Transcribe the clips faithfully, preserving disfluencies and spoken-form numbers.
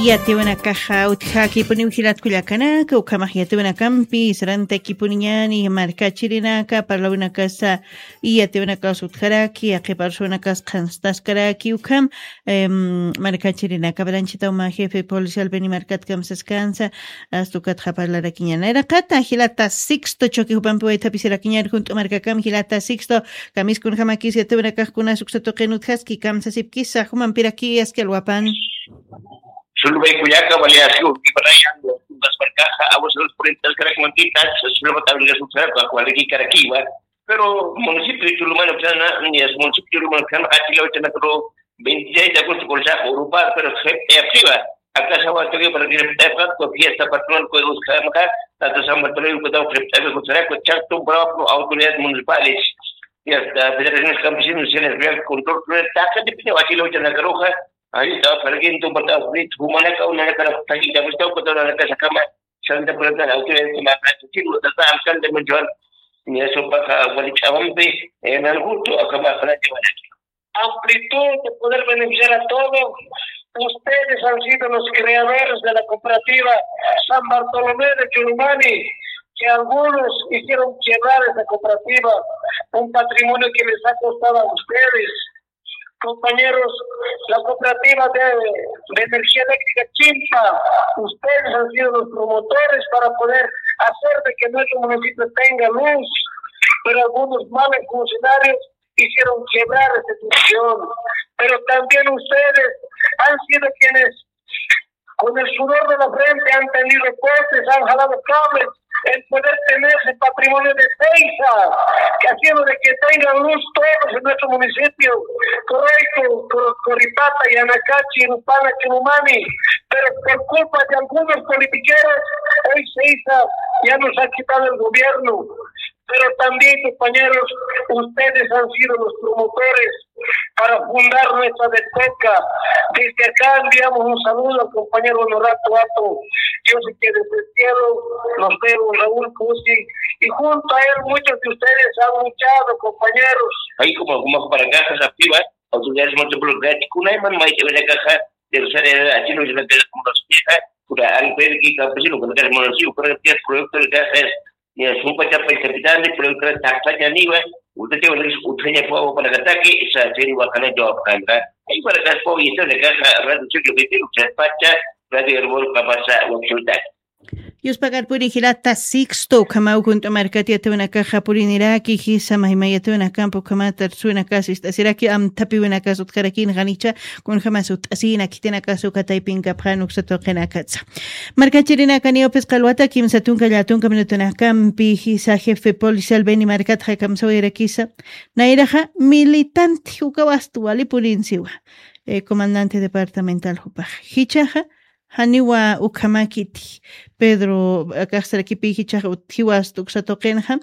Yatiwanakaxa utjakipuniw jilatkullakanaka, ukhamax yatiwanakampi sarantakipuniñani markachirinaka, parlawinakasa yatiwanakas utjaraki, aqiparsuwanakas qhanstaskaraki, ukham, em, markachirinaka, balanchitawma jefe policial Beni Markat kamsaskansa, astukatxa parlarakiñana. Iraqata jilata Sixto, choque jupampi waythapisirakiñar junt'u markakam jilata Sixto, kamiskunjamakis yatiwanakaxkunas uksatuqin utjaski kamsasipkisa, jumampiraki aski alwapan. Sulubaykullaka, wali así urkiparaya, las markaxa, aguas los purintas, karak mantitas, sulubat abrigas utjaraku, akwaliki karakiwa. Pero municipio Chulumani, plana, ni es municipio Chulumani, plana, aquí lo echan a cabo veintiséis de agosto, con esa Europa, pero se, eh, activa. Acá se va a tener para que, eh, fiesta patronal, pues, buscamos acá, tanto San Bartolomé, pues, estamos, eh, eh, con Saraco, Chato, Bravo, autoridades municipales. Y hasta federaciones campesinas, se les ve el control, pero está gente, pero aquí lo echan a la roja, ahí está, para que entonces, para que, humana, una, una, una, una, una, una, una, una, una, Santa Cruz de la Autoridad de la Práctica, alcalde Menchuan, ni eso pasa, Gualichawampe, en el gusto, acá va a llevar aquí. Amplitud de poder beneficiar a todos. Ustedes han sido los creadores de la cooperativa San Bartolomé de Churumani, que algunos hicieron quebrar esa cooperativa, un patrimonio que les ha costado a ustedes. Compañeros, la cooperativa de, de energía eléctrica Chimpa, ustedes han sido los promotores para poder hacer de que nuestro municipio tenga luz, pero algunos malos funcionarios hicieron quebrar esa situación. Pero también ustedes han sido quienes con el sudor de la frente han tendido postes, han jalado cables, el poder tener ese patrimonio de Seiza, que ha sido de que tengan luz todos en nuestro municipio, Corraico, Cor-, Coripata, Yanacachi, Rupana, Churumani, pero por culpa de algunos politiqueros, hoy Seiza ya nos ha quitado el gobierno. Pero también, compañeros, ustedes han sido los promotores para fundar nuestra Detoca. Desde acá enviamos un saludo al compañero Honorato Ato. Yo sé que desde el cielo nos ve don Raúl Cusi y junto a él muchos de ustedes han luchado, compañeros. Ahí como, como para acá, activa, autoridades multiplicar, con ahí man, maite, ven acá, de usar el, aquí no se mete como los vieja, pura albergue, campesino, con el municipio, con el proyecto de casa, ni a su pacha, pues, capitán de proyecto, taxa, ya ni va, usted te va a decir, usted ya fue para ataque, esa serie va a ganar yo a ganar. Ahí para acá, fue, y esta de caja, radio, yo que tengo, se pacha, radio, hermano, capaz, a, Yuspagar puri jilata Sixto, ukhamaw junt'u markat yatiwanakaxa puriniraki, jisa mayma yatiwanakampi ukhamata arsuwinakas ist'asiraki, amthapiwinakas utjarakin qanicha, kunjamas ut'asina khitinakas uka taypinkapxan uksa tuqinakatsa. Markachirinakaniw phisqa alwata kimsa tunka llatunka minutunakampi, jisa jefe policial Beni Markatxa kamsawayarakisa, nayraxa militante ukaw ast wali purinsiwa, eh, comandante departamental jupax. Jichaxa, janiwa ukhamakiti, Pedro, akaxsarakipi jichaxa utjiwa ast uksa tuqinxa,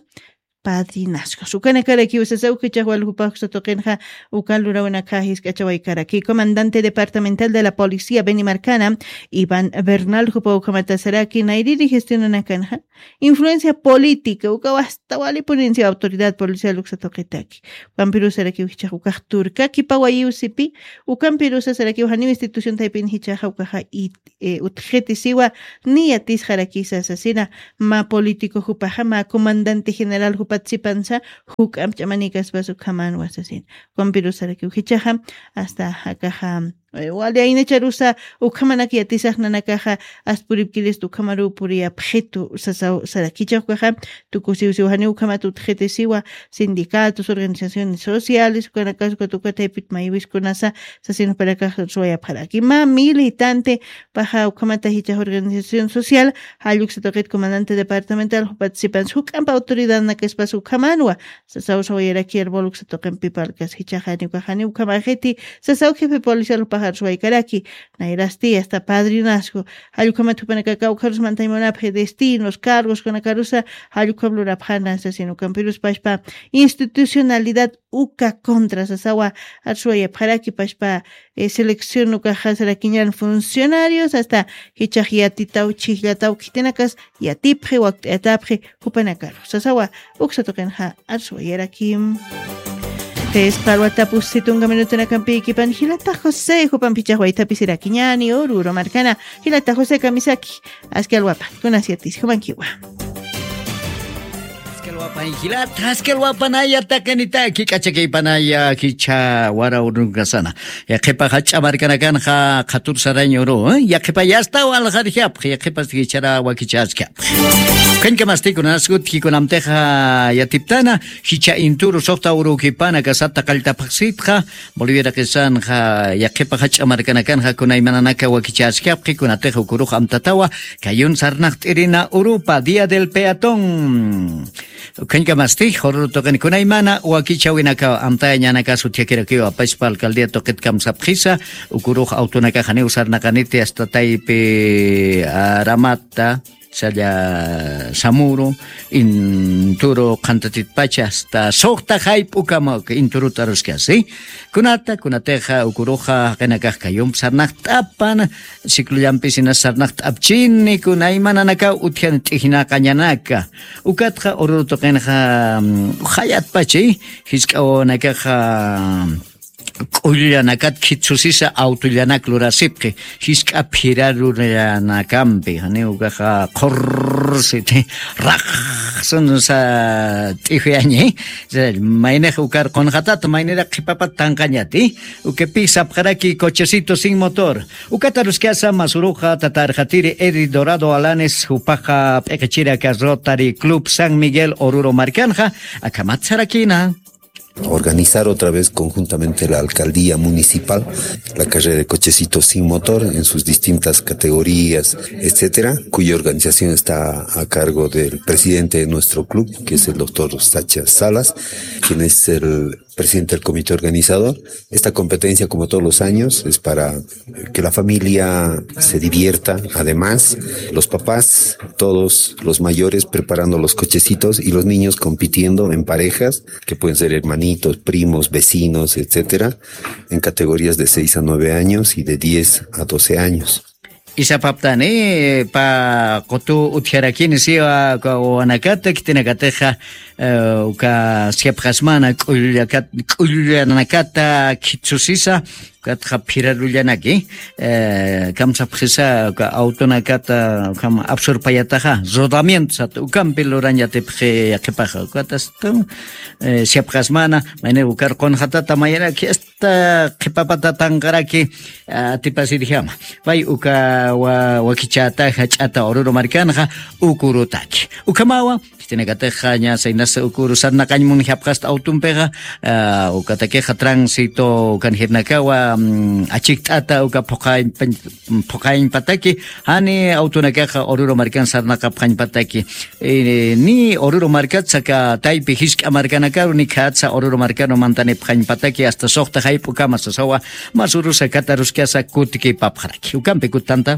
padrinazgos. Ukanakarakiw sasaw jichax wal jupax uksa tuqinxa, uka lurawinakax jisk'achawaykaraki. Comandante departamental de la policía Beni Markana, Iván Bernal, jupa ukhamatasaraki, nayriri gestionanakanxa, influencia política, ukaw ast wali purinsi autoridad policial uksa tuqitaki. Ukampirusarakiw jichax ukax turkakipawayiw sipi, ukampirusasarakiw janiw institución taypin jichaxa ukaxa it-, eh, utjiti siwa, ni yatisxarakisa sasina, mä político jupaxa, mä comandante general jupat sipansa, juk'amp ch'amanikaspas ukhamanwa sasina. Ukampirusarakiw jichaxa, hasta akaxa, eh, wali aynacharusa, ukhamanak yatisax nanakaxa, ast puripkirista ukhamaruw puriyapxitu sasaw sarakichax ukaxa, tukusiw siw janiw ukhamat utjiti siwa, sindicatos, organizaciones sociales, ukanakas uka tuka taypit maywiskunasa, sasin jupanakax suwayapxaraki. Mä militante paxa ukhamata jichax organización social, jall uksa tuqit comandante departamental, jupat sipansa juk'amp autoridadnakaspas ukhamanwa, sasaw sawayaraki arbol uksa tuqimpi parlkas jichaxa, janiw ukax janiw ukhamaxiti, sasaw jefe policial jupax arsuwaykaraki, nayrasti hasta padrinazgo, jall ukhamat jupanakax kawkharus mantañ munapxi destinos, cargos, kunakarusa, jall ukham lurapxana, sasin ukampirus pachpa institucionalidad uka contra sasawa, arsuwayapxaraki pachpa, eh, selección ukaxa sarakiñan funcionarios, hasta jichax yatitaw, chhijllataw, khitinakas yatipxi, wakt'ayatapxi, jupanakaru. Sasawa, uksa tuqinxa arsuwayarakim. Phisqa alwata pusi tunka minutunakampïkipan jilata José, jupampichax waythapisirakiñäni Oruro markana. Jilata José kamisaki, aski alwapan, kunas yatisi, jumankiwa. Aski alwapan jilata, aski alwapanaya taqinitaki, k'achakaypanaya jichha wara urunqasana. Yaqhipa jach'a markanakanxa qhatur sarañ uru, ¿eh? Yaqhipa yastaw aljarijiapxi, yaqhipas jichhara wakichäskapxi. Ukañkamasti kunas utji kunamtixa yatiptana, jichha inturu suxta urukipana kasata qalltapxsitxa, Boliviarakisanxa, yaqhipa jach'a markanakanxa kunaymananaka wakichäskapxi, kunatix ukurux amtatawa, kayun sarnaqt'irina urupa, Día del Peatón. Ukañkamasti, Oruro tuqin kunaymana wakichäwinaka amtayañanaka sutjakirakiwa, paspa alcaldía tuqit kamsapxisa, ukurux autonakaxa janiw sarnaqaniti hasta taypi Aramata, salla Samuru, inturu qhantatitpacha hasta suxta jayp'ukama inturuta aruskasi. Kunata, kunatixa ukuruxa jaqinakax kayump sarnaqt'apan, ciclollampisina sarnaqt'apchini, kunaymananakaw utjan t'ijnaqañanaka. Ukatxa Oruro tuqinxa, mm, jayatpachi, jisk'a wawanakaxa, k'ullanakat khitsusisa autollanak lurasipxi, jisk'a phiraruranakampi, janiw ukaxa qhurrsiti, raqsunsa t'ijuyañi, maynix ukar qunxatata, maynirak qhipapat tanqañati, ukapi sapxaraki cochecito sin motor, ukat aruskasa masuruxa tata arxatiri Eddie Dorado Alanes, jupaxa p'iqichiraka Rotary Club San Miguel Oruro markanxa, akhamat sarakïna. Organizar otra vez conjuntamente la alcaldía municipal la carrera de cochecitos sin motor en sus distintas categorías, etcétera, cuya organización está a cargo del presidente de nuestro club, que es el doctor Sacha Salas, quien es el presidente del comité organizador. Esta competencia, como todos los años, es para que la familia se divierta. Además, los papás, todos los mayores preparando los cochecitos y los niños compitiendo en parejas, que pueden ser hermanitos, primos, vecinos, etcétera, en categorías de seis a nueve años y de diez a doce años. Isapaptani, pa qutu utjarakini siwa, uka wawanakata, khitinakatixa, eh, uka siapxasmana, k'ullakat-, k'ullanakata khitsusisa, ukatxa phirarullanaki, eh, kamsapxisa, uka autonakata, ukham absurpayataxa, rodamiento sata, ukampi lurañ yatipxi yaqhipaxa, ukatasta, eh, siapxasmana, mayni ukar qunxatata mayanaki, ta qhipapata tanqaraki, ah, atipasirjama. Pay uka wa-, wakichäta jach'ata Oruro markanxa ukurutaki. Ukhamawa, khitinakatixa ña saynasa ukuru sarnaqañ munjapxasta autompixa, ah, ukatakixa tránsito ukan jirnakawa, mm, achikt'ata uka phuqañ-, phuqañpataki, jani autonakaxa Oruro markan sarnaqapxañpataki. Eh, ni Oruro markatsa aka taypi jisk'a markanakaru, ni khatsa Oruro markaru mantanipxañpataki hasta suxta jayp'ukama sasawa, masurusa kataruskasa kutikipapxaraki. Ukampi kutanta.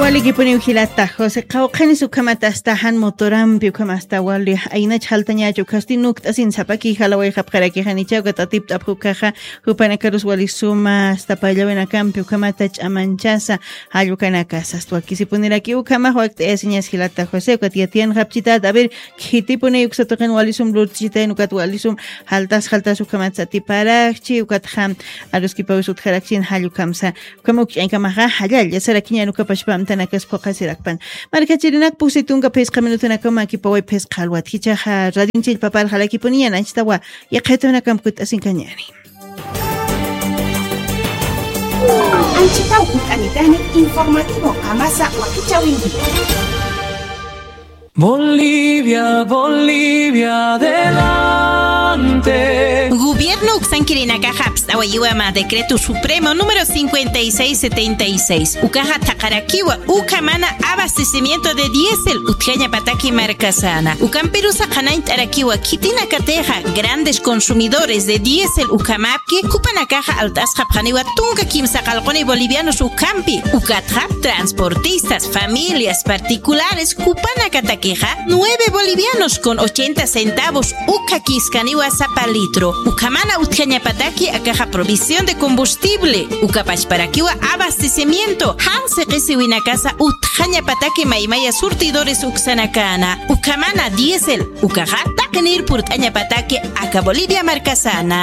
Walikipuniw jilata José, qawqhanis ukhamat hasta jan motorampi ukham hasta wali aynach jaltañachu, ukhasti nukt'asin sapaki jalawayxapxaraki, janicha ukat atipt'apxi ukaxa, jupanakarus wali suma hasta payllawinakampi ukhamata ch'amanchasa, jall ukanakasa, hasta wakisipuniraki ukhamax wakt'ayasiñas jilata José, ukat yatiyanxapchitat, a ver, khitipuni uksa tuqin wali sum lurt'chitayn, ukat wali sum jaltas, jaltas ukhamatsa atiparakchi, ukatxa aruskipawis utjarakchin jall ukhamsa, ukham ukch'añkamaxa, jallalla sarakiñan uka pachpa amtanakas phuqasirakpan. Markachirinak pusi tunka phisqa minutunakaw makipaway phisqa alwat, jichhaxa radionchillpa parxalakipuniñan, anchitawa yaqhitunakamp kutt'asinkañäni. Anchitaw utanitani informativo amasa wakichawinki. Bolivia, Bolivia, adelante. Gobierno uksankirinakaxa apst'awayiwa mä decreto supremo número cincuenta y seis setenta y seis. Ukaxa thaqarakiwa ukhamana abastecimiento de diésel utjañapataki markasana. Ukampirusa qhanañt'arakiwa khitinakatixa grandes consumidores de diésel ukhamapki, jupanakaxa alt'asxapxaniwa tunka kimsa qallquni bolivianos ukhampi. Ukatxa transportistas, familias particulares, jupanakata Kixa nueve bolivianos con ochenta centavos ukhakiskaniwa sapa litro. Ukhamana utjañapataki akaxa provisión de combustible, uka pachparakiwa abastecimiento, jan siqisiwinakasa utjañapataki maymaya surtidores uksanakana. Ukhamana diésel, ukaxa taqinir purt'añapataki aka Bolivia markasana.